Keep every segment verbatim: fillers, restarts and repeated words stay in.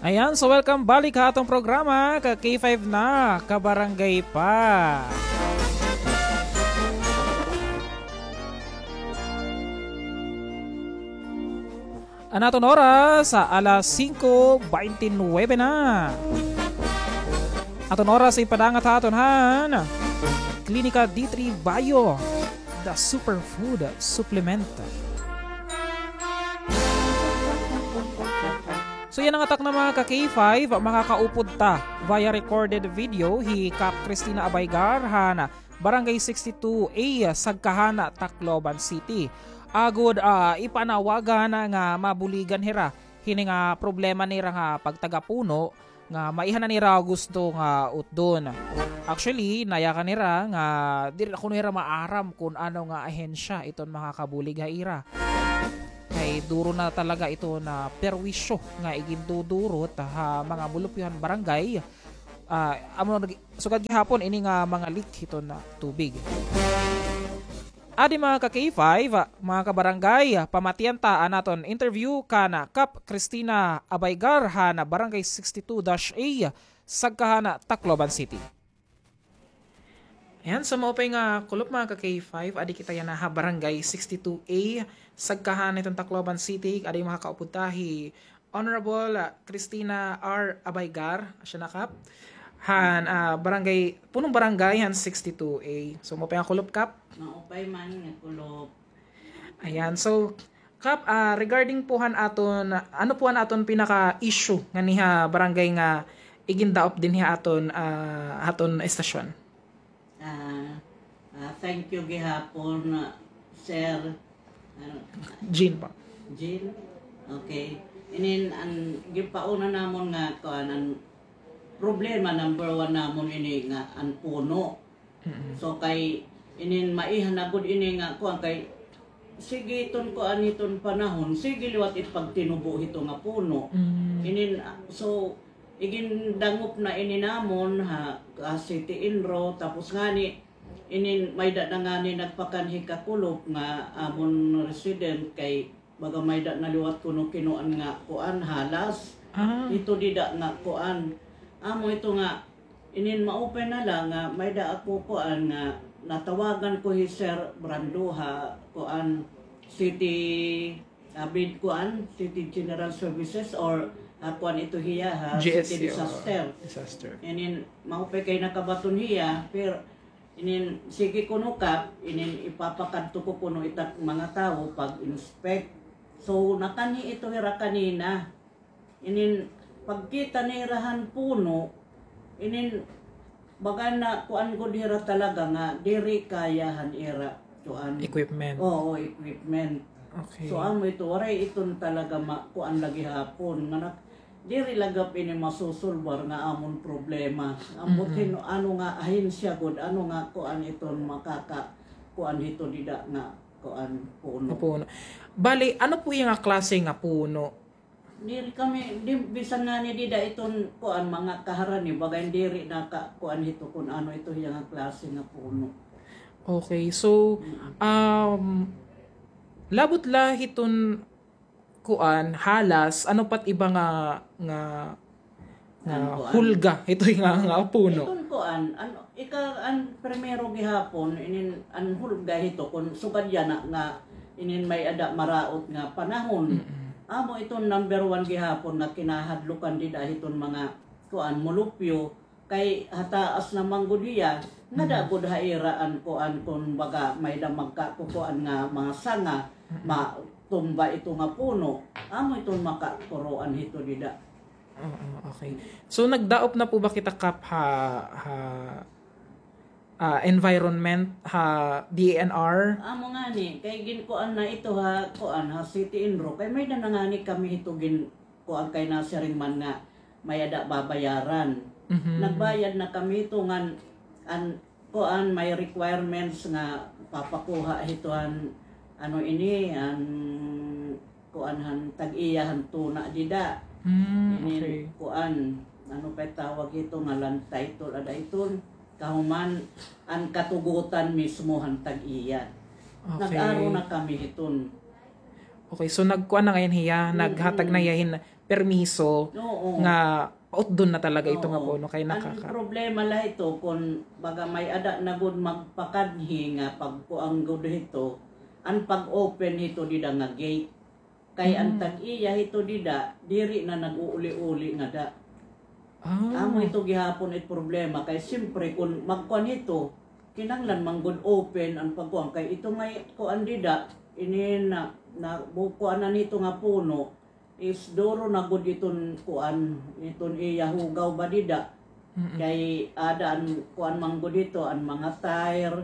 Ayan, so welcome balik ha aton programa, ka K five na, kabarangay pa. An aton oras, alas singko baynte nuwebe na. Aton oras ipadangat ha aton han Klinika D three Bio, the superfood supplement. So, yana nga takna, mga ka K five, makakaupod ta via recorded video hi Kap Christina Abaygar han Barangay sixty-two A, Sagkahan, Tacloban City. Agod, ah, ipanawagan nga mabuligan hira hini nga problema nira nga pagtaga puno nga maiha na nira gusto nga utdon. Actually, nayakan nira nga diri na kuno hira maaram kun ano nga ahensya iton makakabulig ha ira. Kay duro na talaga iton perwisyo nga igindudurot ha mga mulupyo han barangay. Ah, amo nag-, sugad gihapon ini nga mga leak hiton tubig. Adi, mga ka K five, mga kabarangay, pamatian ta an aton interview kan Kap Christina Abaygar han Barangay sixty-two dash A, Sagkahan, Tacloban City. Ayan, so maupay nga kulop, mga ka K five, adi kita yana ha Barangay sixty-two A, Sagkahan, hiton Tacloban City, adi makakaupod ta hi Honorable, ah, Christina R Abaygar, asya na, Kap, han, ah, barangay, punong barangay han sixty-two A. So, maupay nga kulop, Kap. Maupay man nga kulop. Ayan. So, Kap, ah, regarding po han aton, ano po an aton pinaka-issue nganhi ha barangay nga igindaop dinhi ha aton, ah, aton estasyon? Ah, ah, thank you gihapon, ah, Sir, ano, Jean pa. Jean? Okay. Inin, an gipauna namon nga, kuan, an problema number one namon ini nga an puno. Mm-mm. So, kay inin maiha na gud ini nga, kuan, kay sige iton kuan hiton panahon, sige liwat it pagtinubo hito nga puno. Mm. Inin, ah, so, igindangop na ini namon ha, ha City Inro, tapos ngani, inin mayda na ngani nagpakanhi ka kulop nga amon resident kay baga mayda na liwat kuno kinuan nga kuan, halas. Ah. Ito dida nga kuan. Amo ito nga, inin maupay na la nga mayda ako kuan nga natawagan ko hi Sir Brando ha kuan, City, abid kuan, City General Services or, ah, kuan ito hiya ha, City G S C, oo. Disaster. Disaster. Inin maupay kay nakabaton hiya, pero inin sige kuno, Kap, inin ipapakadto ko kuno ita nga mga tawo pag-inspect. So, nakanhi ito hira kanina. Inin pagkita nira han puno, inin baga na kuan gud hira talaga nga diri kaya han ira kuan. Equipment. Oo, equipment. Okay. So, amo ito, waray iton talaga ma-, kuan la gihapon nga nak-, diri la gihap ini masusulbar nga amon problema. Ambot hin-, ano nga ahensya gud, ano nga kuan iton makaka-, kuan hito dida nga kuan, puno. Nga puno. Bali, ano po iya nga klase nga puno? Diri kami, di, bisan ngani dida iton kuan, mga kaharani, baga diri naka-, kuan hito kun ano ito iya nga klase nga puno. Okay, so, um, labot la hiton kuan, halas, ano pa it iba nga, nga, nga hulga, ito nga, nga puno? Iton kuan, ano, ika, an primero gihapon, inin, an hulga hito, kun sugad yana nga, inin may-ada maraot nga panahon. Mm-mm. Amo iton number one gihapon nga kinahadlokan dida hiton mga, kuan, mulupyo, kay hataas na man gud hiya, ngada gud ha ira an kuan, kun baga may-ada magkakukuan nga mga sanga, matumba ito nga puno, amo iton makakuroan hito dida. Oo, okay. So, nagdaop na po ba kita, Kap, ha, ha, ah, environment, ha D E N R? Amo ngani, kay ginkuan na ito ha, kuan, ha City Inro, kay may-ada na ngani kami hito gin-, kuan kay nasiring man nga may-ada babayaran. Mhm. Nagbayad na kami hito ngan an kuan may requirements nga papakuha hito an ano ini, an kuan han tag-iya han tuna dida. Mm, okay. Ini kuan, ano pa tawag hito nga land title, ada iton kahuman an katugotan mismo han tag-iya. Okay. Nag-aro na kami hiton. Okay, so nagkuan na ngay-an hiya, naghatag na hiya hin permiso nga pautdon na talaga ito nga puno kay nakaka- An problema la hito kon baga may-ada na gud magpakanhi nga pagkuan gud hito, an pag-open hito dida nga gate. Kay an tag-iya hito dida, diri na nag-uuli-uli ngada. Amo ito gihapon it problema kay siyempre kon magkuan hito, kinahanglan man gud open an pagkuan kay ito may kuan dida, ini na, na bu-, kuanan hito nga puno, is duro na gud iton kuan, iton iya hugaw ba dida. Kay ada an kuan man gud ito, an mga tire,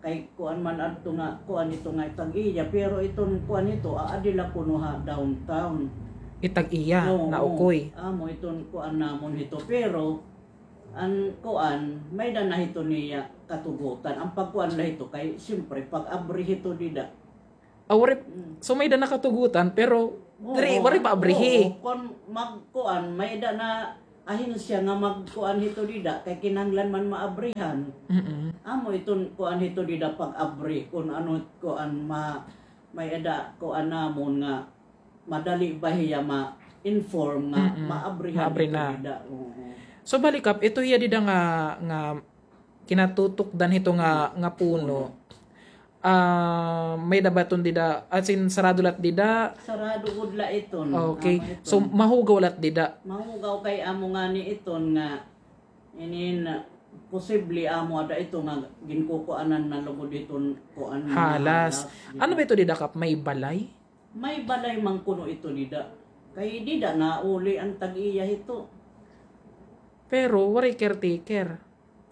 kay kuan man adto nga, kuan ito nga tag-iya, pero iton kuan ito, aadi la kuno ha downtown. It tag-iya, na ukoy. Amo iton kuan namon hito, pero an kuan, may-ada na hito niya katugutan. An pagkuan la hito, kay siyempre, pag-abri hito dida. Ah, waray, so may-ada na katugutan, pero diri, waray pa abrihi. Oo, kon magkuan, may-ada na ahensya nga magkuan hito dida, kay kinahanglan man maabrihan. Amo iton kuan hito dida pag-abri, kon ano kuan ma-, may-ada kuan namon nga madali ba hiya ma-inform nga maabrihan ito dida. Oo. So, bali, Kap, ito hiya dida nga, nga kinatutukdan hito nga, nga puno. Ah, may-ada ba iton dida, as in, sarado la it dida? Sarado gud la iton. Okay. So, mahugaw la it dida? Mahugaw kay amo ngani iton nga inin, posible amo ada ito nga ginkukuanan na lugod iton kuan, halas. Ano ba ito dida, Kap? May balay? May balay man kuno ito dida. Kay dida nauli an tag-iya hito. Pero waray caretaker.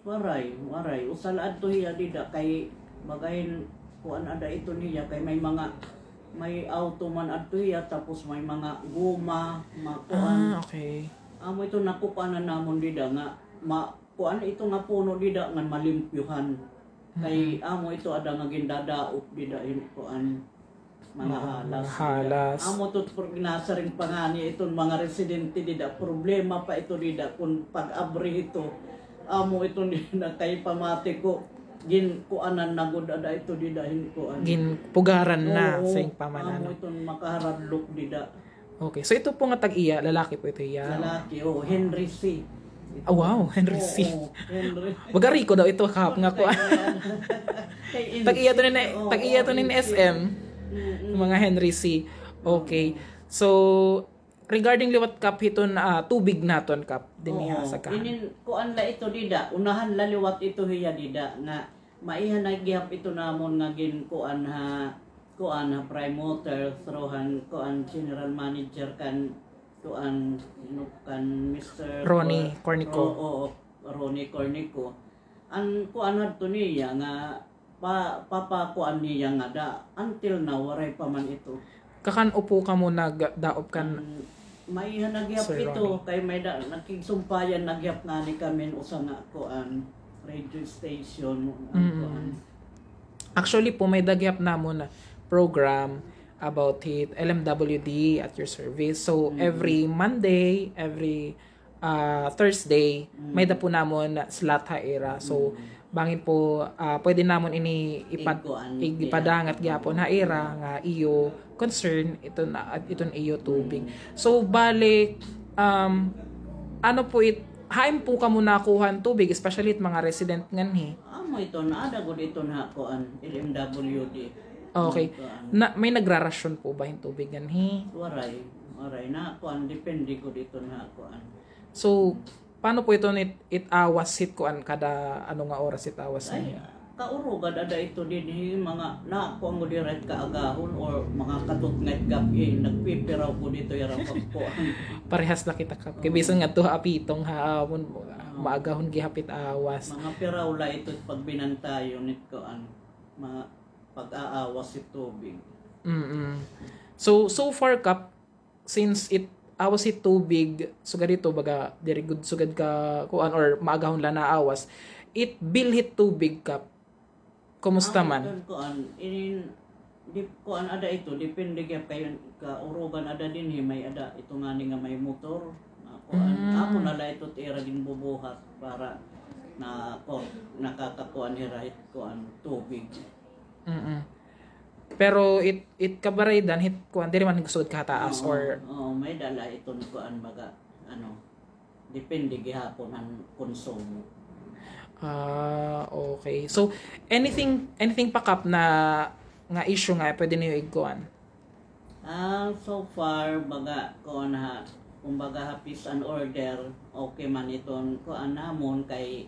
Waray, waray. Usa la adto hiya dida kay baga hin kuan ada ito niya kay may mga, may auto man adto hiya tapos may mga goma, mga kuan. Ah, okay. Amo ito nakukuanan namon dida nga ma-, kuan ito nga puno dida nga malimpyuhan. Kay amo ito ada nga gindadaop dida hin kuan. Mga halas. Mga halas. Amo ito, por-, ginasiring pa ngani iton mga residente dida, problema pa ito dida kon pag-abri ito. Amo ito dida kay pamati ko, ginkuanan na gud ada ito dida hin kuan. Ginpugaran na sa ing pamanan. Oo, amo iton makaharadlok dida. Okay. So, ito po nga tag-iya, lalaki po ito hiya? Lalaki, oo. Henry C. Ah, wow, Henry C. Oo, Henry. Baga riko daw ito, Kap, nga kuan. Tag-iya to nin, tag-iya to nin S M. Mga Henry C. Okay. So, regarding liwat, Kap, hiton, ah, tubig naton, Kap, dinhi ha Sagkahan. Inin, kuan la ito dida. Unahan la liwat ito hiya dida nga maiha na gihap ito namon nga ginkuan ha, kuan ha Prime Water, through han, kuan, general manager kan, kuan, sino, kan Mister Ronnie Cor-, Cornico. Oo, oo, Ronnie Cornico. An kuan hadto niya nga pa-, papakuan niya ngada, until now, waray pa man ito. Kakan-o po kamo nagdaop kan Sir Ronnie? Maiha na gihap ito, kay may da-, nakigsumpayan na gihap ngani kami usa nga kuan, radio station, an kuan. Actually po, may-ada gihap namon na program about it, L M W D at your service. So, every Monday, every ah, Thursday, may-ada po namon slot ha ira. So, bangin po, ah, pwede namon ini ipa-, ipadangat gihapon ha ira nga iyo concern, iton, iton iyo tubig. So, bali, um, ano po it-, hain po kamo nakuha han tubig, especially it mga resident nganhi? Amo iton, aada gud iton ha kuan, L M W D. Okay. May nagrarasyon po ba hin tubig nganhi? Waray, waray. Na kuan, depende gud iton ha kuan. So, paano po iton it-, it-awas hit kuan, kada ano nga oras it-awas ninyo? Ay, kaurugan ada ito dinhi, mga, na, kuan gud dira it kaagahon or mga katutnga it gab-i, nagpipiraw gud ito ira pagkuan. Parehas la kita, Kap. Kay bisan ngadto ha Apitong ha amon, maagahon gihap it-awas. Mga piraw la ito pagbinantayon it kuan, mga pag-aawas it tubig. Mm-mm. So, so far, Kap, since it-awas hit tubig, sugad hito, baga, diri gud sugad ka, kuan, or maagahon la naawas, it bill hit tubig, Kap, kumusta man? Kuan, inin, di, kuan, ada ito, depende kay kaurugan ada dinhi, may-ada ito ngani nga may motor, nga kuan. Amo na la ito it ira ginbubuhat para na, kuan, nakakakuan hira hit kuan, tubig. Mm-mm. Pero it, it kabaraydan, hit kuan, diri man gusugad kahataas. Oo, or oo, may-ada la iton kuan, baga, ano, depende gihapon an konsumo. Ah, okay. So, anything, anything pa, Kap, na nga issue nga pwede niyo igkuan? Ah, so far, baga, kuan ha, kumbaga ha peace and order, okay man iton kuan namon kay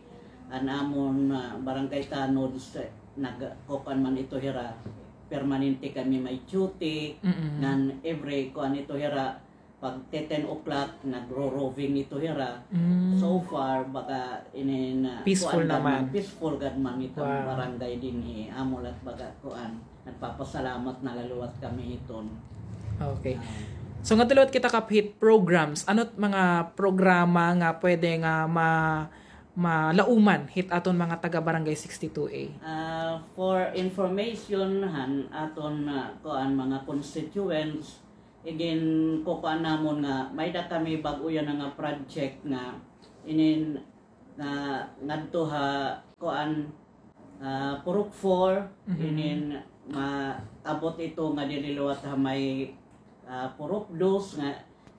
an amon, ah, barangay tanods, eh, nag-, kukuan man ito hira, permanente kami may duty, mm-mm, ngan every kuan ito hira, pag te-, ten o'clock, nagro-roving ito hira. Mm. So far, baga, inin, ah, peaceful kuan gad man, naman, peaceful gad man iton, wow, barangay dinhi. Amo la it baga, kuan, nagpapasalamat na la liwat kami hiton. Okay. Ah. So, ngadto liwat kita, Kap, hit programs. Ano it mga programa nga pwede nga ma-, malauman hit aton mga taga Barangay sixty-two A? Ah, for information, han aton, ah, kuan, mga constituents, igin kukuan namon nga may-ada kami bag-o yana nga project nga inin nga ngadto ha kuan, ah, Purok four, mhm, inin maabot ito nga diri liwat ha may, ah, Purok dos nga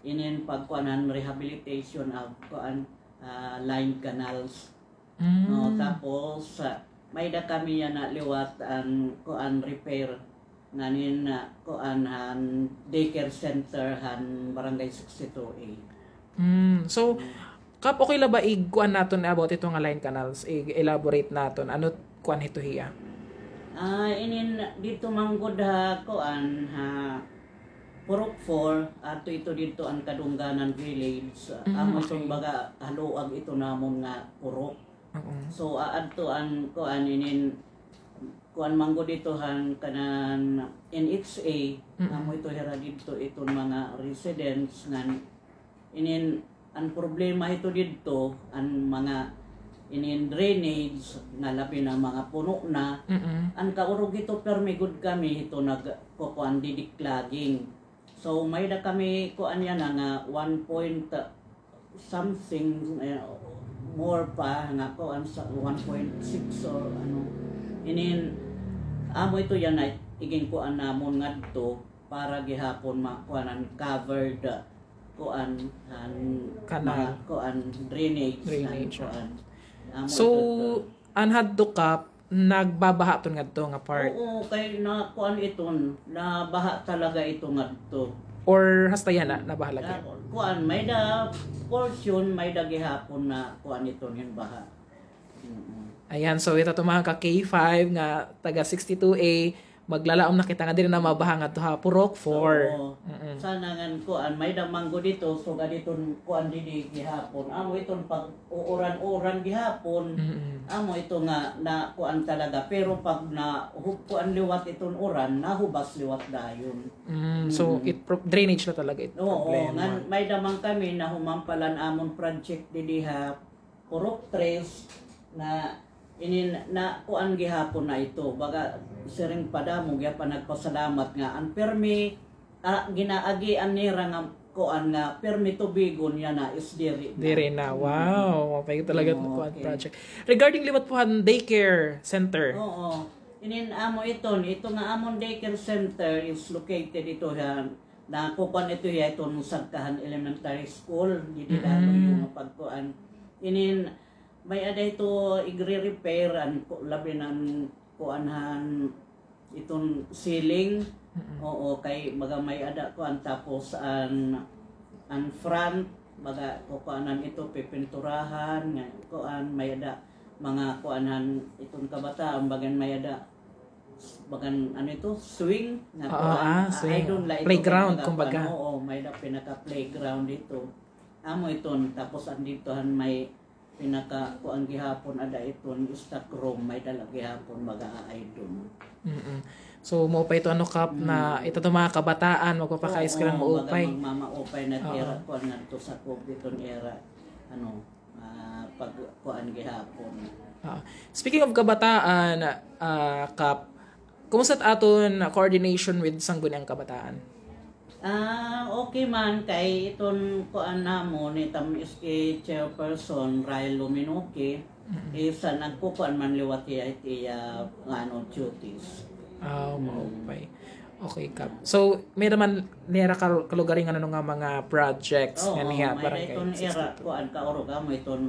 inin pagkuanan rehabilitation of kuan, ah, line canals. Mm. No, tapos, ah, may-ada kami yana liwat an kuan repair nganin, ah, kuan han daycare center han Barangay sixty-two A. Mm. So, mm, Kap, okay la ba ig-kuan naton about ito nga line canals, ig-elaborate naton? Ano kuan hito hiya? Ah, inin didto man gud ha kuan ha Purok four, ato ito didto an Kadungganan Village. Mm, amo iton, okay, baga haluag ito namon nga purok. Oo. So, aadto an kuan inin, kuan man gud ito han kanan N H A, mm-mm, amo ito hira didto iton mga residents ngan inin an problema ito didto, an mga inin drainage nga labi na mga puno na, mm-mm, an kaurog ito permi gud kami ito nagkukuan didi clogging. So, may-ada kami kuan yana nga one point something, eh, more pa nga kuan sa one point six or ano. Inin, amo ito yana igin kuan namon ngadto para gihapon makuanan covered, kuan, an kanal, ma-, kuan, drainage, an drainage, kuan. Amo ito. So, an hadto, Kap, nagbabaha ton ngadto nga part? Oo, kay na, kuan iton, nabaha talaga ito ngadto. Or hasta yana, nabaha lagi? Na, kuan, may-ada portion, may-ada gihapon na kuan iton hin baha. Mm-mm. Ayan, so ito to mga ka K five nga taga sixty-two A, maglalaom na kita nga diri na mabaha ngadto ha Purok four. Oo. Mm-mm. Sana ngan kuan, may-ada man gud ito, sugad iton kuan didi gihapon. Amo iton pag-uuran-uran gihapon. Mm-mm. Amo ito nga na kuan talaga, pero pag na hub-, kuan liwat iton uran, nahubas liwat dayon. Mm, so, mm-mm, it pro-, drainage na talaga it, oo, problema. Ngan may-ada man kami nahuman pa la an amon project didi ha Purok tres na inin na kuan gihapon na ito. Baga siring pa damo gihapon nagpasalamat nga an permi, ah, ginaagian nira nga kuan nga permi tubigon yana is diri na. Diri na. Mm. Wow, maupay talaga it kuan, okay, project. Regarding liwat po han daycare center. Oo. Inin amo iton, ito nga amon daycare center is located ito ha Nakukuan ito hiya iton sagka han elementary school, didi la luyo nga pagkuan. Inin, may-ada ito igre-repair, an ku-, labi na an kuan han iton ceiling. Mm-mm. Oo, kay baga may-ada kuan, tapos an, an front, baga kukuanan ito, pipinturahan, nga kuan, may-ada mga kuan han iton kabataan, bagan may-ada bagan, ano ito, swing nga kuan. Ah, swing. Playground, kumbaga. Oo, may-ada pinaka-playground dito. Amo iton, tapos an didto han may pinaka-kuan gihapon, ada iton stock room, may-ada la gihapon mag-aaydon. Mm-mm. So, maupay ito, ano, Kap, na ito, mga kabataan, magpapaka-eskwela, maupay. Oo, magmamaupay na ira kuan ngadto sa COVID iton ira, ano, ah, pagkuan gihapon. Ah, speaking of kabataan, ah, Kap, kumusta it aton coordination with Sangguniang Kabataan? Ah, okay man, kay iton kuan namon, iton S K chairperson, Ryle Luminoque, is, ah, nagkukuan man liwat hiya it iya, ano, duties. Ah, maupay. Okay, Kap. So, may-ada man nira ka-, kalugaringon ano nga mga projects nga niha, may-ada barangay iton ira, sixty-two. Kuan, kaurog, amo iton,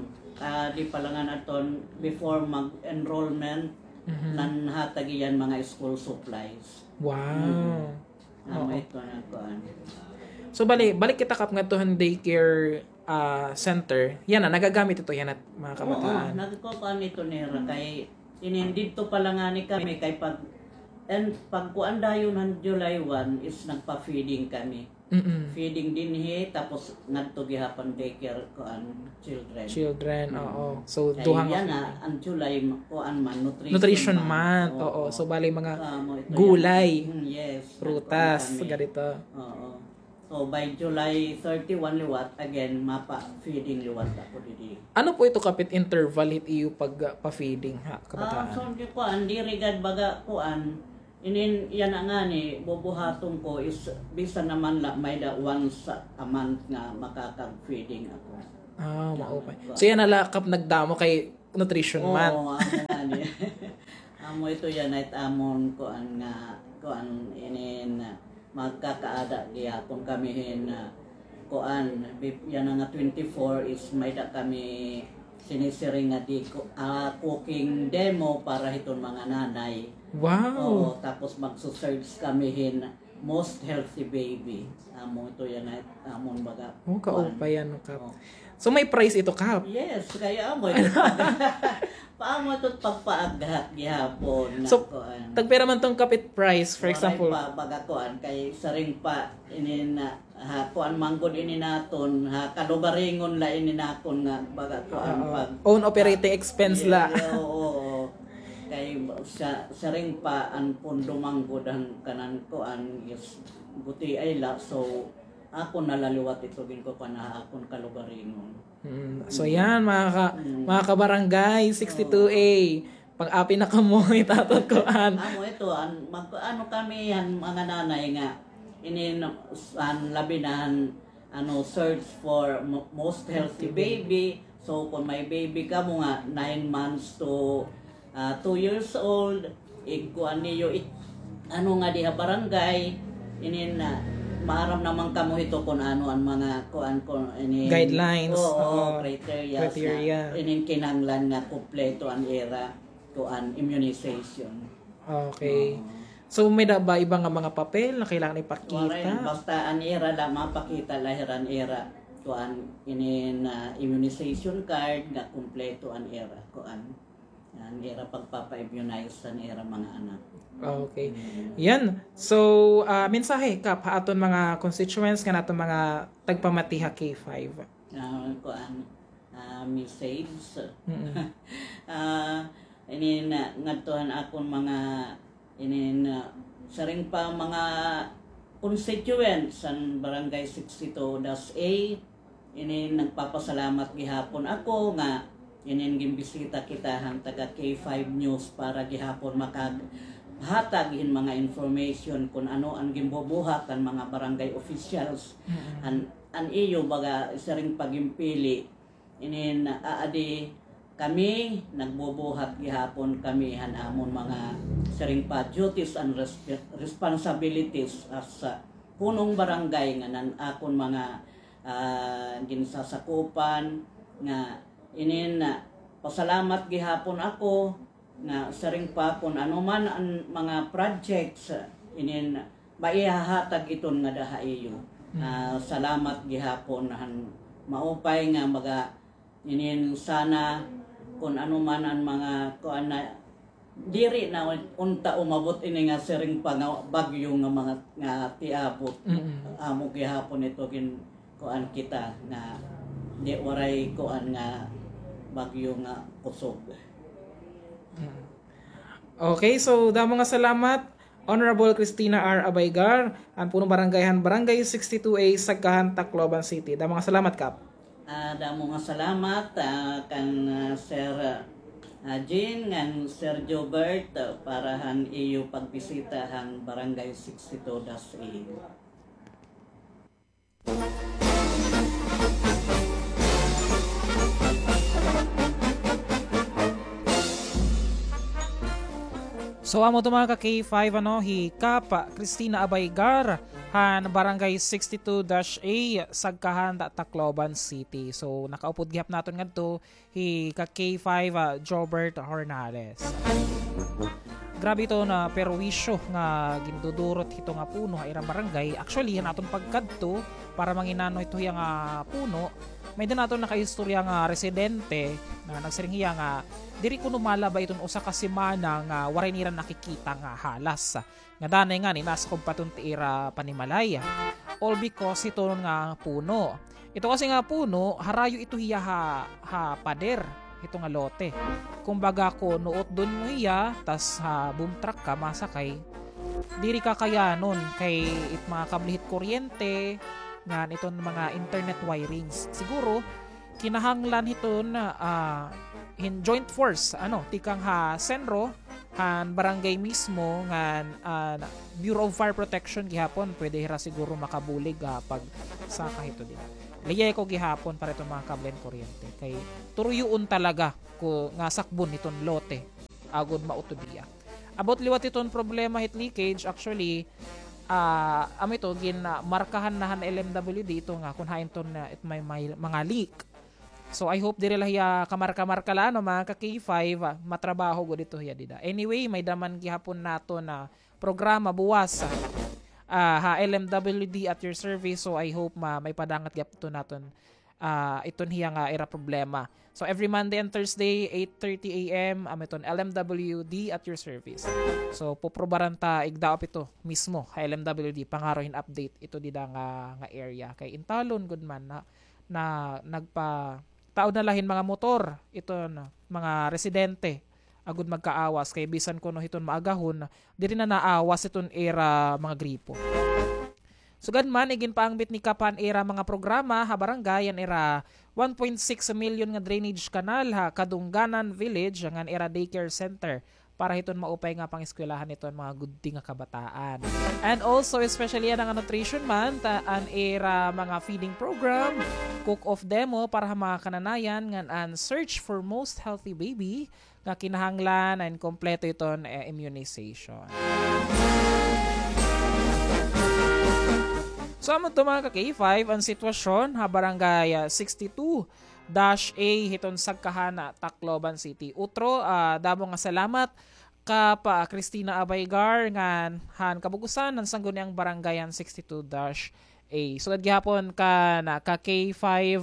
ah, di pa la ngan aton before mag-enrollment, mhm, nanhatag iyan mga school supplies. Wow. Mm. Amo ito na kuan. So, bali, balik kita, Kap, ngadto han daycare, ah, center. Yana, nagagamit ito yana, mga kabataan. Oo, nagkukuan ito nira kay inin didto pa la ngani kami kay pag, and pagkuan dayon han July one is nagpa-feeding kami. Mm-mm. Feeding dinhi, tapos ngadto gihapon daycare, kuan, children. Children, oo. So, kay duha nga yana, feeding. An July, kuan man, nutrition month. Nutrition month, oo. Oo. So, bali mga gulay, prutas, ganito. Amo ito yana. Mm, yes. Nagkuan kami. Oo. So, by July thirty-one liwat, again, mapa-feeding liwat ako didi. Ano po ito, Kap, it interval hit iyo pagpa-feeding ha kabataan? Ah, so, di kuan, diri gad baga kuan, inin yana ngani, bubuhaton ko is bisan naman la may-ada once a month nga makakag-feeding ako. Ah, maupay. So, yana la, Kap, nagdamo kay nutrition month. Oo, amo ngani. Amo ito yana it amon kuan nga, kuan inin, magkakaada gihapon kami hin, ah, kuan, bif-, yana nga twenty-four is may-ada kami sinisiring nga di ko, ah, cooking demo para hiton mga nanay. Wow! Oo, tapos magsusearch kami hin most healthy baby. Amo ito yana it amon baga. Oh, kuan. Kaupay ano, Kap. Oh. So, may price ito, Kap? Yes, kay amo ito. Paamo ito pagpaaghat gihapon na kuan. So, tagpira man tong, Kap, it price, for example? Waray pa, baga kuan, kay siring pa, inin, ha, kuan man gud ini naton, ha, kalugaringon la ini nakon nga, baga kuan, oo, pag own operating expense la. Yeah, oo, oo. Kay sa, siring pa an pondo man gud han kanan kuan, is gutiay la, so, akon na la liwat ito ginkukuan ha akon kalugaringon. Mm. So, yan, mga ka-, mga kabarangay sixty-two A, pang-api na kamo, itaton ko an. Amo ito, an, mag-, ano kami, an mga nanay nga, inin, an labi na, an, ano, search for mo-, most healthy baby. So, kung may baby kamo nga nine months to ah, two years old, igkuan niyo, ik-, ano nga diha barangay, inin, ah, maaram naman kamo hito kun ano an mga kuan, kun inin, guidelines, oo, oo, criteria, criteria. Inin kinahanglan nga kumpleto an ira kuan, immunization. Okay. Oo. So, may-ada ba iba nga mga papel na kailangan ipakita? Waray, basta an ira la, mapakita la hira an ira kuan, inin, ah, immunization card nga kumpleto an ira kuan. An ira pagpapa-immunize han ira mga anak. Okay. Mm. Yan. So, ah, mensahe, Kap, ha aton mga constituents, ngan aton mga tagpamati ha K five. Ah, kuan, ah, message. Mm-mm. Ah, inin, ah, ngadto han akon mga Inin, ah, siring pa mga constituents han Barangay sixty-two dash A, inin nagpapasalamat gihapon ako nga inin ginbisita kita han taga K five News para gihapon makaghatag hin mga information kun ano an ginbubuhat han mga barangay officials, mm-mm, han, han iyo baga siring pa ginpili. Inin, ah, adi kami nagbubuhat gihapon kami han amon mga siring pa duties and resp-, responsibilities as, ah, punong barangay ngan an akon mga, ah, ginsasakupan nga inin, ah, pasalamat gihapon ako nga siring pa kun ano man an mga projects, inin maihahatag iton ngada ha iyo. Mm. Ah, salamat gihapon han maupay nga mga inin sana kun ano man an mga kuan na diri na unta umabot ini nga siring pa nga bagyo nga mga nga tiabot. Mm. Amo gihapon ito gin kuan kita nga di waray kuan nga bagyo nga kusog. Mm. Okay, so damo nga salamat, Honorable Christina R. Abaygar, an punong barangay han Barangay sixty-two A, Sagkahan, Tacloban City. Damo nga salamat, Kap. Ah, damo nga salamat, ah, kan, ah, Sir, ah, Jean ngan Sir Jobert, ah, para han iyo pagbisita han Barangay sixty-two dash A. So, amo to mga ka K five, ano, hi Kap Christina Abaygar, han Barangay sixty-two dash A, Sagkahan, Tacloban City. So, nakaupod gihap naton ngadto hi ka K five, ah, Jobert Hornales. Grabe ito na perwisyo nga gindudurot hito nga puno ha ira barangay. Actually, han aton pagkadto, para manginano ito hiya nga puno, may-ada naton nakaistorya nga residente na nagsiring hiya nga diri kuno malaba iton usa ka semana nga waray nira nakikita nga halas. Nga danay ngani, nasakob pa iton ti ira panimalay. All because hiton nga puno. Ito kasi nga puno, harayo ito hiya ha, ha pader, ito nga lote. Kumbaga, kun nuotdon mo hiya, tas ha boom truck ka masakay, diri kakayanon kay it mga kable hit kuryente, ngan iton mga internet wirings. Siguro, kinahanglan hiton, ah, hin joint force, ano, tikang ha senro, han barangay mismo, ngan, ah, Bureau of Fire Protection gihapon, pwede hira siguro makabulig, ah, pagsaka hito dida. Liyay ko gihapon para iton mga kablen kuryente. Kay turuyoon talaga ko nga sakbon hiton lote agod mautod hiya. About liwat hiton problema hit leakage, actually, ah, amo ito, gin, ah, markahan na han L M W D ito nga kun hain ton, ah, it may, may mga leak. So, I hope diri la hiya kamarka-marka la, no, mga ka K five, ah, matrabaho gud ito hiya dida. Anyway, may-ada man gihapon naton na programa buwas, ah, ha L M W D at your service. So, I hope ma-, maipadangat gihap ito naton, ah, iton hiya nga ira problema. So, every Monday and Thursday, eight thirty A M, amo iton L M W D at your service. So, puprobaran ta igdaop ito mismo ha L M W D, pangaro hin update ito dida nga, nga area. Kay intalon gud man na, na nagpa-, taod na la hin mga motor, iton mga residente, agod magkaawas, kay bisan kuno hiton maagahon, diri na naawas iton ira mga gripo. Sugad man, iginpaangbit ni Kap an ira mga programa ha barangay, an ira one point six million nga drainage canal ha Kadungganan Village, ngan ira daycare center para hiton maupay nga pangeskwelahan hiton mga gudti nga kabataan. And also, especially an nga nutrition month, ah, an ira mga feeding program, cook-off demo para ha mga kananayan, ngan an search for most healthy baby, nga kinahanglan an kompleto iton, eh, immunization. So, amo to, mga ka K five, an sitwasyon ha Barangay, ah, sixty-two dash A hiton Sagkahan, ah, Tacloban City. Utro, ah, damo nga salamat Kap Christina Abaygar ngan han kabug-osan han Sangguniang Barangay han sixty-two dash A. Sugad gihapon kan ka K five,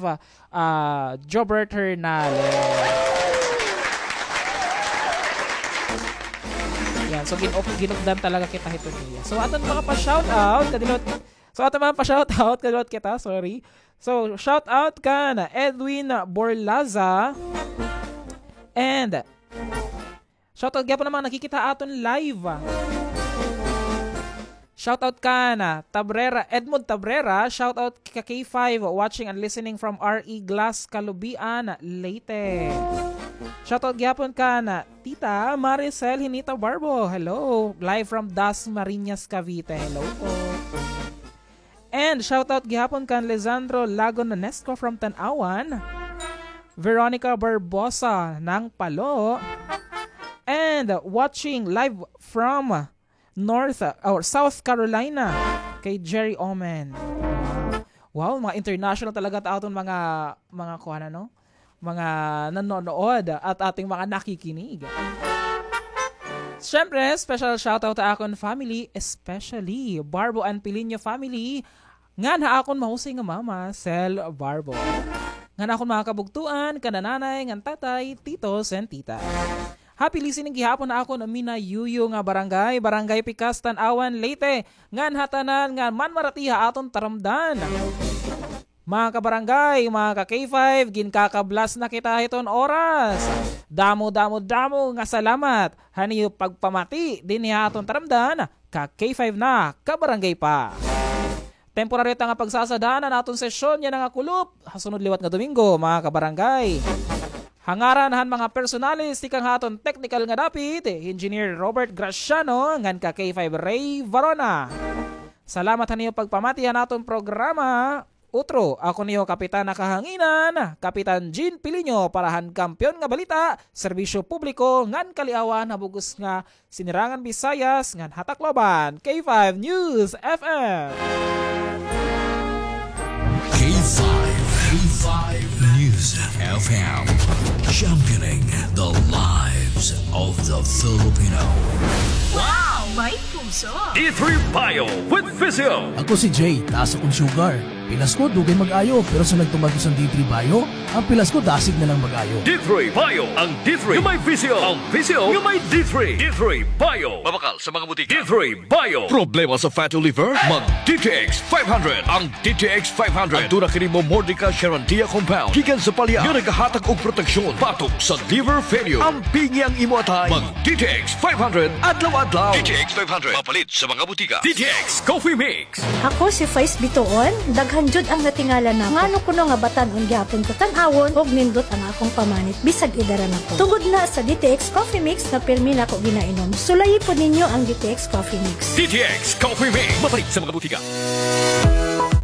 ah, Jobert Hernales. Yan, so gin-, ginupdan talaga kita hiton iya. So aton mga pa-shoutout, kadilot. So aton mga pa-shoutout, kadilot kita, sorry. So shout out kan Edwin Borlaza and shoutout gihapon an mga nakikita ha aton live. Shoutout kan Tabrera, Edmond Tabrera. Shoutout ka K five, watching and listening from R E Glass, Calubian, Leyte. Shoutout gihapon kan Tita Maricel Hinita Barbo. Hello. Live from Dasmariñas, Cavite. Hello po. And shoutout gihapon kan Lisandro Lago Nonesco from Tanauan. Veronica Barbosa ng Palo. And watching live from North, uh, or South Carolina, kay Jerry Omen. Wow, mga international talaga ta aton mga, mga kuan, ano? Mga nanonood at ating mga nakikinig. Siyempre, special shoutout ha akon family, especially Barbo and Pilinio family, ngan ha akon mahusay nga mama, Sel Barbo. Ngan akon mga kabugtoan, kan nanay, ngan tatay, titos, and tita. Happy listening gihapon ha akon minayuyo nga barangay, Barangay Pikas, Tanauan, Leyte, ngan ha tanan nga manmarati ha aton taramdan. Mga kabarangay, mga ka K five, ginkakablas na kita hiton oras. Damo, damo, damo nga salamat han iyo pagpamati dinhi ha aton taramdan, ka K five na, kabarangay pa. Temporaryo ta nga pagsasadaan an aton sesyon yana nga kulop ha sunod liwat nga Domingo, mga kabarangay. Ha ngaran han mga personalis tikang ha aton technical nga dapit, Engineer Robert Graciano, ngan ka K five Ray Varona. Salamat han iyo pagpamati han aton programa. Utro, ako niyo Kapitan na Kahanginan, Kapitan Jean Piliño para han Kampiyon nga Balita, Serbisyo Publiko ngan Kaliawan ha bug-os nga Sinirangan Bisayas ngan ha Tacloban, K five News F M. K five, K five News F M, championing the lives of the Filipino. Wow! May puso! D three Bio with Physio. Ako si Jay, taas akong sugar. Pilas ko, dugay mag-ayo, pero sa nagtumar ko sa D three Bio, ang pilas ko, dasig na lang mag-ayo. D three Bio, ang D three nga may Physio, ang Physio nga may D three. D three Bio. Mabakal sa mga butika. D three Bio. Problema sa fatty liver? Mag D T X five hundred. Ang D T X five hundred, aduna kini Momordica charantia compound gikan sa palya nga nagahatag og proteksyon batok sa liver failure. Ampingi ang imo atay. Mag D T X five hundred adlaw-adlaw. D T X five hundred, mapalit sa mga butika. D T X Coffee Mix. Ako si Faiz Bituon, daghan jud ang natingala nako. Ngano kuno nga batan-on gihapon ko tan-awon ug nindot ang akong pamanit bisag edara na ko. Tungod na sa D T X Coffee Mix nga pirmi nako ginainom. Sulayi pod ninyo ang D T X Coffee Mix. D T X Coffee Mix. Mapalit sa mga butika.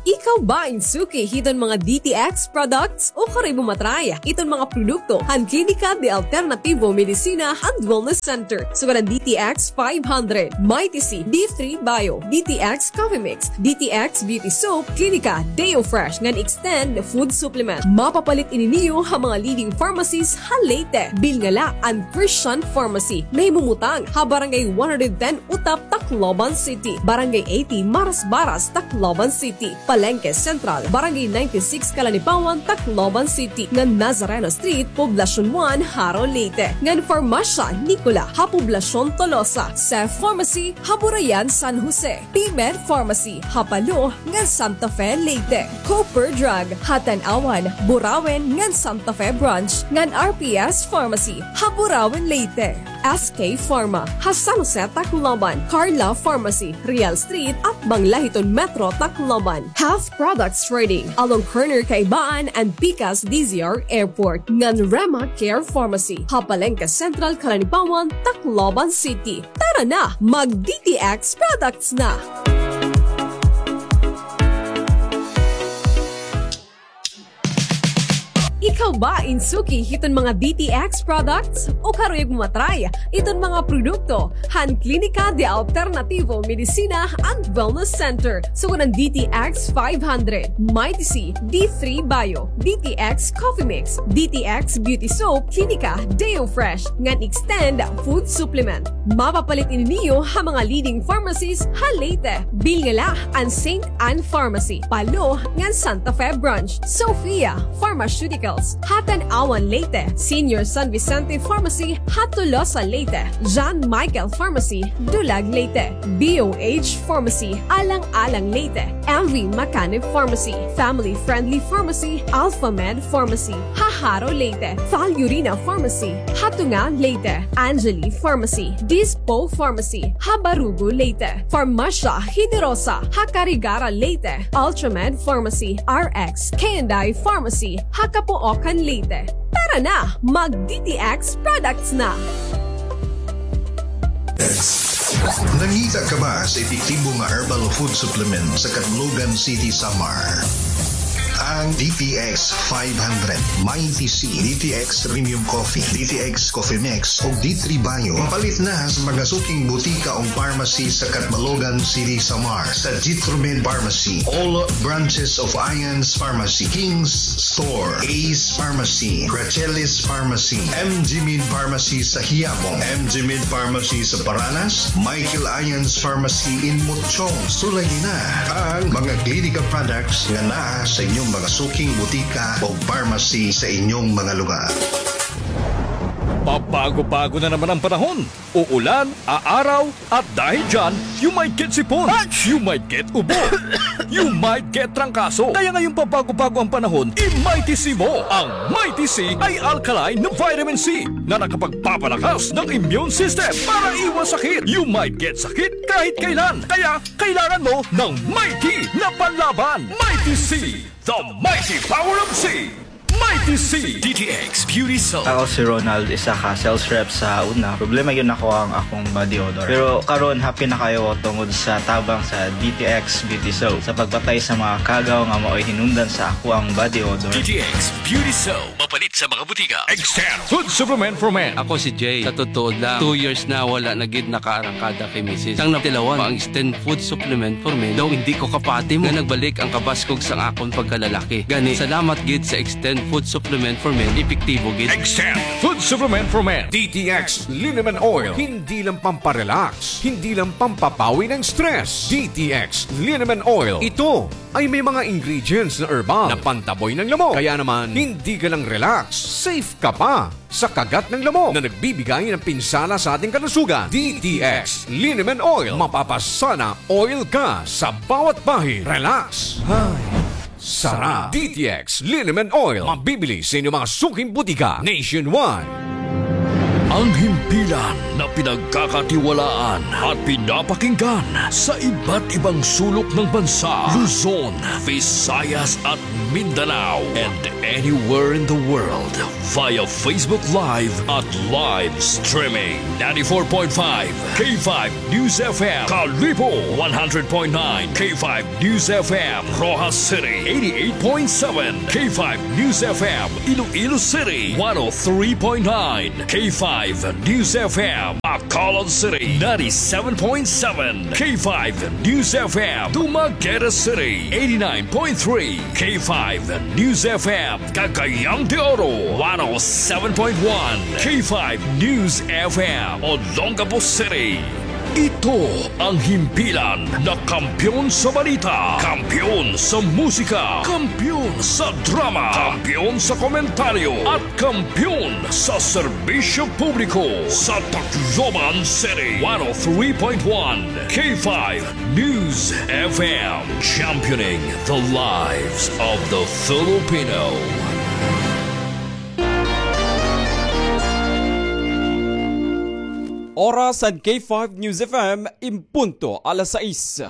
Ikaw ba in suki hiton mga D T X products? O karoy mo matry iton mga produkto han Klinika de Alternativo Medicina and Wellness Center, sugad han D T X five hundred, Mighty C, D three Bio, D T X Coffee Mix, D T X Beauty Soap, Klinika, Deo Fresh, ngan Extend Food Supplement. Mapapalit ini niyo ha mga leading pharmacies ha Leyte. Bilngala an Christian Pharmacy, nahimumutang ha Barangay one hundred ten Utap, Tacloban City, Barangay eighty Marasbaras, Tacloban City, Palengke Central, Barangay ninety-six Calanipawan, Tacloban City, ngan Nazareno Street, Poblacion one, Jaro, Leyte, ngan Farmasya Nicola ha Poblacion Tolosa, Sef Pharmacy ha Burayan, San Jose, P-Med Pharmacy ha Palo ngan Santa Fe, Leyte, Cooper Drug ha Tanauan, Burauen ngan Santa Fe Branch, ngan R P S Pharmacy ha Burauen, Leyte. S K Pharma ha San Jose, Tacloban, Carla Pharmacy, Real Street, atbang la hiton Metro Tacloban, Half Products Trading, along corner Kaibaan and Pikas D Z R Airport, ngan Rema Care Pharmacy ha Palengke Central, Calanipawan, Tacloban City. Tara na, mag D T X products na! Ikaw ba in suki hiton mga D T X products? O karuyag mo matry iton mga produkto han Klinika de Alternativo Medicina and Wellness Center, sugad han D T X five hundred, Mighty C, D three Bio, D T X Coffee Mix, D T X Beauty Soap, Klinika, Deo Fresh, ngan Extend Food Supplement. Mapapalit ini niyo ha mga leading pharmacies ha Leyte. Bilngala an Saint Anne Pharmacy, Palo, ngan Santa Fe Branch, Sophia Pharmaceuticals ha Tanauan, Leyte, Senior San Vicente Pharmacy ha Tolosa, Leyte, John Michael Pharmacy, Dulag, Leyte, B O H Pharmacy, Alang-alang, Leyte, M V Macanib Pharmacy, Family Friendly Pharmacy, Alpha Med Pharmacy ha Jaro, Leyte, Val Urina Pharmacy ha Tunga, Leyte, Angeli Pharmacy, Dispo Pharmacy ha Barugo, Leyte, Farmasya Generosa ha Carigara, Leyte, Ultramed Pharmacy, R X K and I Pharmacy ha Capoocan, Leyte. Tara na, mag D T X products na! Nangita ka ba sa epektibo nga herbal food supplement sa Catbalogan City, Samar? Ang D T X five hundred, Mighty C, D T X Premium Coffee, D T X Coffee Mix, ug D three Bio. Mapalit na sa mga suking butika ug pharmacy sa Catbalogan City, Samar, sa Jitromed Pharmacy, all branches of Ian's Pharmacy, King's Store, Ace Pharmacy, Rachelis Pharmacy, M G Med Pharmacy sa Quiapo, M G Med Pharmacy sa Paranas, Michael Ian's Pharmacy in Mutchong. Sulayi na ang mga Klinika products nga naa sa inyong mga suking butika o pharmacy sa inyong mga lugar. Pabago-bago na naman ang panahon. Uulan, aaraw, at dahil dyan, you might get sipon, you might get ubo, you might get trangkaso. Kaya ngayong pabago-bago ang panahon, i-Mighty C mo. Ang Mighty C ay alkaline na vitamin C na nakapagpapalakas ng immune system para iwas sakit. You might get sakit kahit kailan. Kaya kailangan mo ng Mighty na panlaban. Mighty C, the mighty power of C. I T C, D T X Beauty Soap. Ako si Ronald, isa ka sales rep sa una. Problema gyud nako ang akong body odor. Pero karon, happy na kaayo ko tungod sa tabang sa D T X Beauty Soap sa pagpatay sa mga kagaw nga maoy hinungdan sa akoang body odor. D T X Beauty Soap. Mapalit sa mga butika. Extend Food Supplement for Men. Ako si Jay. Sa totoo lang, two years na wala na gid nakaarangkada kay misis. Sang natilawan pa ang Extend Food Supplement for Men, daw indi ko kapati mo nga nagbalik ang kabaskog sang akon pagkalalaki. Gani, salamat gid sa Extend Food Supplement for Men, epektibo gid. Extend Food Supplement for Men. D T X Liniment Oil. Hindi lang pamparelax, hindi lang pampabawi ng stress. D T X Liniment Oil. Ito ay may mga ingredients na herbal na pantaboy ng lamok. Kaya naman, hindi ka lang relax, safe ka pa sa kagat ng lamok na nagbibigay ng pinsala sa ating kalusugan. D T X Liniment Oil. Mapapasana oil ka sa bawat bahid. Relax. Ay, sarap. D T X Liniment Oil. Mabibili sa inyong mga suking butika nationwide. Ang himpilan na pinagkakatiwalaan at pinapakinggan sa iba't ibang sulok ng bansa, Luzon, Visayas at Mindanao, and anywhere in the world via Facebook Live at live streaming. Ninety-four point five K five News F M, Kalibo, one hundred point nine K five News F M, Roxas City, eighty-eight point seven K five News F M, Iloilo City, one oh three point nine K five News F M, Bacolod City, ninety-seven point seven K five News F M, Dumaguete City, eighty-nine point three K five News F M, Cagayan de Oro, one oh seven point one K five News F M, Olongapo City. Ito ang himpilan na kampiyon sa balita, kampiyon sa musika, kampiyon sa drama, kampiyon sa komentaryo, at kampiyon sa serbisyo publiko sa Tacloban City. One oh three point one K five News F M, championing the lives of the Filipino. Oras han K five News F M, in punto alas sais.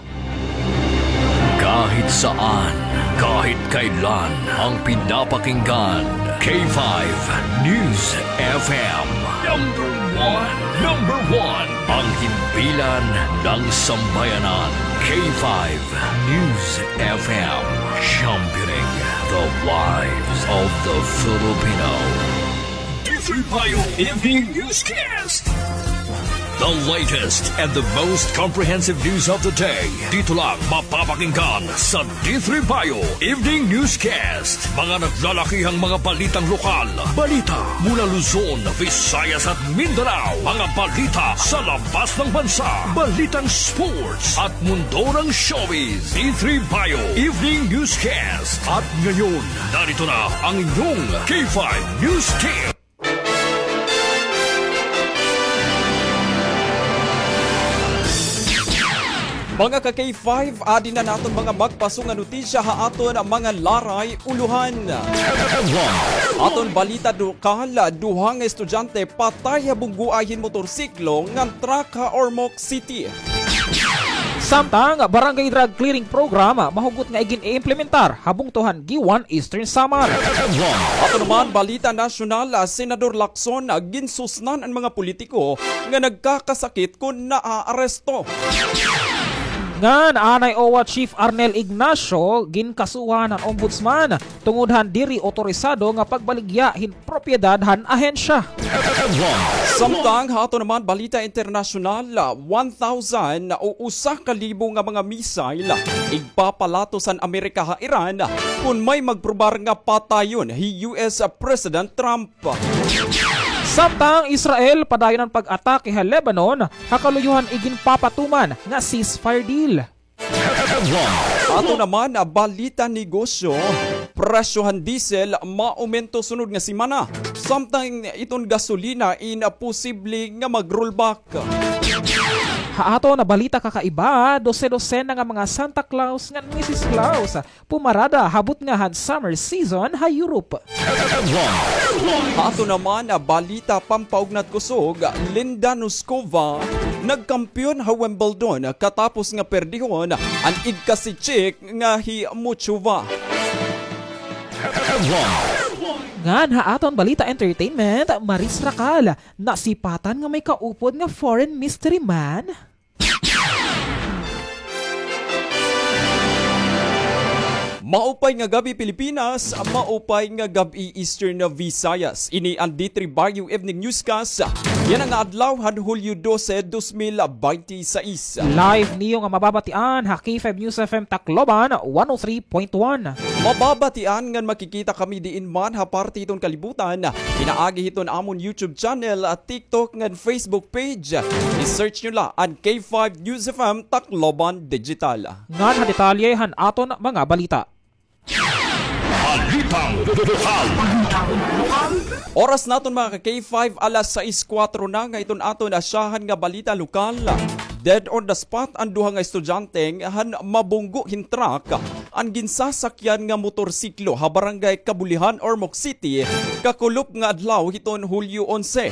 Kahit saan, kahit kailan, ang pinapakinggan, K five News F M. Number one, number one, ang himpilan ng sambayanan, K five News F M, championing the lives of the Filipino. D three Bayo Evening Newscast. The latest and the most comprehensive news of the day. Dito lang mapapakinggan sa D three Bayo Evening Newscast. Mga naglalakihang mga balitang lokal. Balita mula Luzon, Visayas at Mindanao. Mga balita sa labas ng bansa. Balitang sports at mundo ng showbiz. D three Bayo Evening Newscast. At ngayon, narito na ang inyong K five News Team. Mga ka-K five, adi na an aton mga magpaso nga notisya ha aton mga laray ulohan. Aton balita lokal, duha nga estudyante patay ha bunggoay hin motorsiklo ngan truck ha Ormoc City. Samtang, Barangay Drug Clearing Program mahugot nga igin-iimplementar ha bungto han Guiuan, Eastern Samar. Ato naman balita nasyonal, ah, Senador Lacson, ah, ginsusnan an mga politiko nga nagkakasakit kon naaaresto. Ngan anay OWWA Chief Arnel Ignacio ginkasuhan han Ombudsman tungod han diri otorisado nga pagbaligya hin propiedad han ahensya. Samtang ha ato naman balita internasyonal, one thousand o usa ka libo nga mga missile igpapalatos han Amerika ha Iran kon may magprobar nga patayon hi U S President Trump. Samtang Israel padayon an pag-atake ha Lebanon ha kaluyo han iginpapatuman nga ceasefire deal. Ato naman, ah, balita negosyo, presyo han diesel maumento sunod nga semana. Samtang iton gasolina in, ah, posible nga mag-rollback. Ha aton balita kakaiba, dose-dosena nga mga Santa Claus ngan Missus Claus pumarada ha butnga han summer season ha Europe. Ha ato naman, ah, balita pampaugnat kusog, Linda Noskova nagkampiyon ha Wimbledon katapos nga perdihon an igkasi-Czech nga hi Muchova. Ngan ha aton balita entertainment, Maris Racal, nasipatan nga may kaupod nga foreign mystery man. Maupay nga gab-i, Pilipinas. Maupay nga gab-i, Eastern Visayas. Ini an D three Baguio Evening Newscast. Yana nga adlaw han Hulyo dose, dos mil baynte sais. Live niyo nga mababatian ha K five News F M Tacloban, one oh three point one. Mababatian ngan makikita kami diin man ha parte hiton kalibutan, pinaagi hiton amon YouTube channel, TikTok ngan Facebook page. I-search niyo la an K five News F M Tacloban Digital. Ngan ha detalye han aton mga balita. Balitang lokal. Oras naton, mga ka-K five, alas sais kuwatro na nga iton aton asyahan nga balita lokal. Dead on the spot an duha nga estudyante han mabunggo hin truck an ginsasakyan nga motorsiklo ha Barangay Kabulihan, Ormoc City, kakulop nga adlaw hiton Hulyo onse.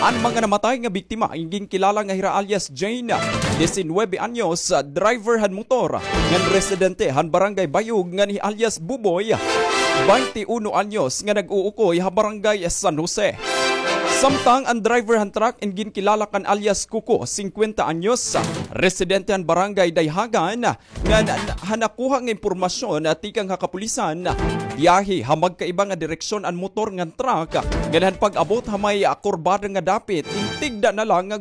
An mga namatay nga biktima in ginkilala nga hira alias Jane, disinuybe anyos, driver han motor, ngan residente han Barangay Bayog, ngan hi alias Buboy, baynte uno anyos, nga nag-uukoy ha Barangay San Jose. Samtang an driver han truck in ginkilala kan alias Kuko, singkwenta anyos, residente han Barangay Dayhagan, nga na-, na-, ha nakuha nga impormasyon, ah, tikang ha kapulisan, biyahe ha magkaiba nga direksyon an motor ngan truck, ngan han pag-abot ha may, ah, kurbada nga dapit, intigda na la nga